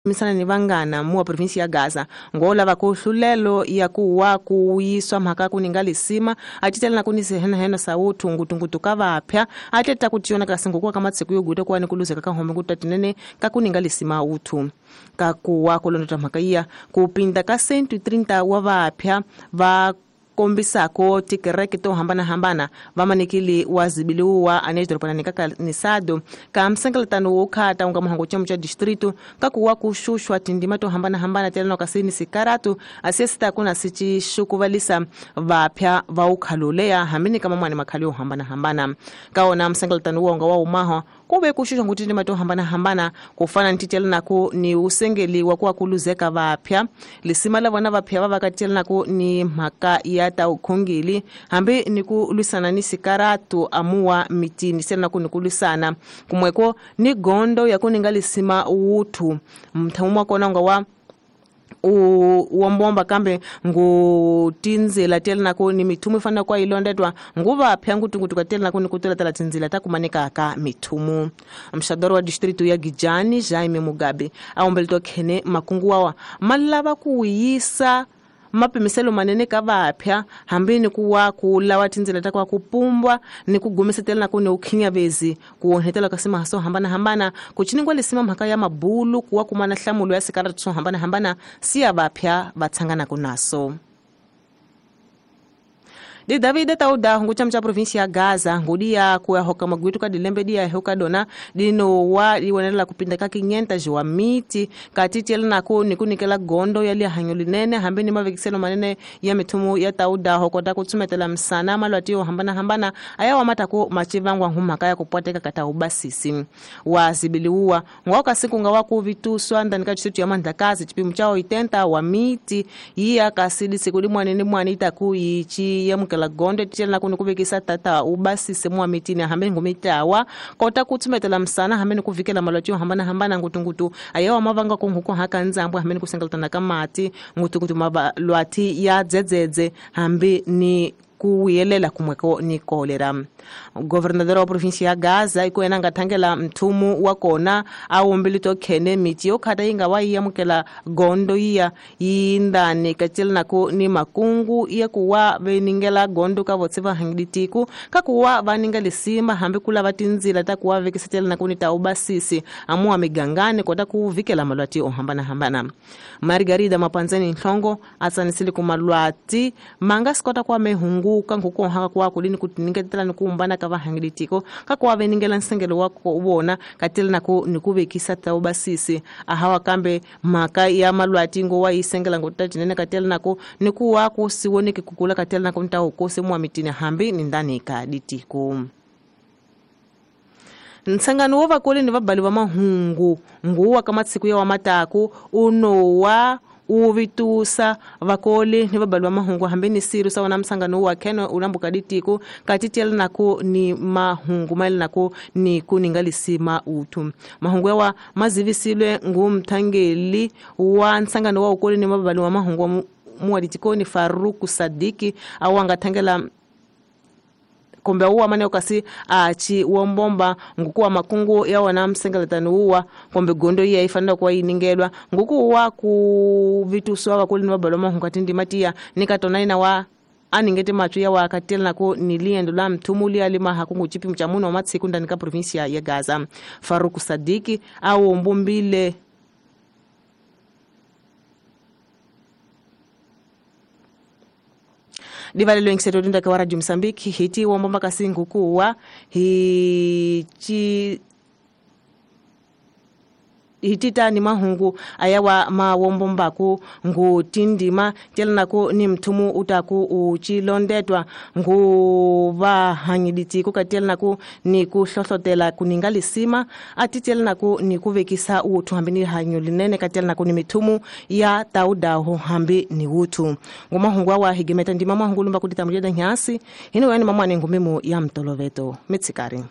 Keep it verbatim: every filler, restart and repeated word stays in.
Misana ni vangana muwa provinsi ya Gaza ngola vakuhlulelo ya kuwa kuyiswa mhaka kuninga lisima atitela na kunise hena hena sautu ngutungutu kavapya ateta kutiona kasingo kama tsiku yoguta kwa nikuluzeka kahombe kutatinene kakuninga lisima utu kakuwa kulondota mhaka iya kupinda ka cento e trinta wa vapya va kombisako tikereke to hambana hambana vamanikili wazibiliwa anedropana nikanisado ka msengeletano wokhata unga muhango chamo cha distrito kakuwa kushushwa tindima to hambana hambana tela kasini sikaratu asesita kuna sichi shukuvalisa vapya va ukhalulea hamini kama mwana makhali yo hambana hambana kaona msengeletano wonga wa umaho kube kushushwa ngutindima to hambana hambana kufana ntitela nako ni usengeli wa kuwa kuluzeka vapya lisima la vona vapya vavakatela nako ni mhaka ya ta ukhongeli hambi ni ku lwisana ni sikaratu amuwa mitini sena ku ni ku lwisana kumweko ni gondo ya kuninga lisima wuthu mthamu wa kona nga wa uwombomba kambe ngu tinzila tela nako ni mithumu ifana kwa ilondetwa nguvapya ngutungutuka tela nako ni kutelatela tinzila ta kumanika ka mithumu. Mxadoro wa distrito ya Gijani Jaime Mugabe aombelitwa khene makungu wawa malava kuyisa mapimiselo manene ka vapya hambi ni kuwa kulawa tindzela ta kwa kupumbwa ni kugumisetela nako ni ukhinyavezi kuonhetela ka sima so hambana hambana kuchiningwa lisima mhaka ya mabulu kuwa kumana hlamulo ya sikaratu so hambana hambana siya vapya vatsangana kunaso. Di David Tauda hungu cha provinsi ya Gaza ngudia kuya hoka magwitu ka dilembe dia hoka dona dino wa iwonela kupinda ka kinyenta jiwa miti katiti nako nikunikela gondo yali hanyo linene hambe ni mavekiselo manene ya mithumu ya Tauda hokota kutsumetela msana malwati yo hambana hambana aya matako machivangwa humaka ya kupwateka kata ubasisi wazibiliwa ngoka siku ngawa kuvituswa ndani ka chitu ya mandakazi chipimo chao itenta wa miti iya kasidi siku limwane mwane itakuichi ya mukela gondo tshela kunukuvekisa tata ubasise mwa mitini hambe ngumitawa kota kutsumetela msana hambe kuvikela malwati yo hambana hambana ngutungutu ayawa mavanga kunhuko haka nzambo hambe kusengelatana kamati ngutungutu mabalwati ya dzedzedze hambe ni kuyelela kumweko ni kolera. Governador wa provinsi ya Gaza ikuena ngathangela mthumu wa kona awombilito khene miti yokhata inga wa yamukela gondo iya yindani kachela nako ni makungu iya kuwa veningela gondo ka votse va hangiditiku kakuwa vaninga lisima hambi kula vatinzila ta kuwa vekisetela nako ni taubasisi amuwa migangane kota kuvikela malwati ohambana hambana. Margarida Mapanzeni Nhlongo atsanisile kumalwati manga sikota kwa mehungu kanguko haka kwa kulini kutiningetela nikuumbana ka vahangilitiko kakuwa veningela nsengelo wako ubona katela nako nikuvekisa taubasisi ahawa kambe maka ya malwati ngo wa isengela ngutatinene katela nako nikuwa kusiwoneke kukula katela nako ntaukose mwa mitini hambi ni ndani ka ditiko. Nsangano wa vakoli ni vabali va mahungu nguwa kama tsiku ya wa mataku unowa uvitusa vakoli ni vabali va mahungu hambi ni siru sawa na msangano wa keno ulambuka ditiko katitela nako ni mahungu maili nako ni kuninga lisima utu mahungu yawa mazivisilwe ngumthangeli wa nsangano wa ukoli ni vabali wa mahungu muwa ditiko ni Faruku Sadiki awangathangela kombe uwa mane okasi achi wombomba ngukuwa makungu ya wana msengeletano uwa kombe gondo iya ifanira kwa iningelwa ngukuwa kuvituswa vakoli ni vabali wa mahungu katindi matia nikatona ina wa aningete machu ya wakatela nako niliendo la mthumuli alima hakungu chipi mchamuno wa matsiku ndani ka provinsia ya Gaza. Faruku Sadiki au mbumbile divalelo ingiseto dinda kwa Radio Msambiki hiti wombomba kasingu kuwa hichi hitita ni mahungu ayawa mawombombaku ngu tindima tela nako ni mthumu utaku uchilondetwa ngu vahangiditi kukatela nako ni kuhlohlotela kuninga lisima atitela nako ni kuvekisa uthu hambi ni hanyo linene katela nako ni mithumu ya taudaho hambi ni uthu ngumahungu awa higemeta ndima mahungu lumba kutita mujeda nyasi hino yani mamwane ngumimo ya mtoloveto mitsikari.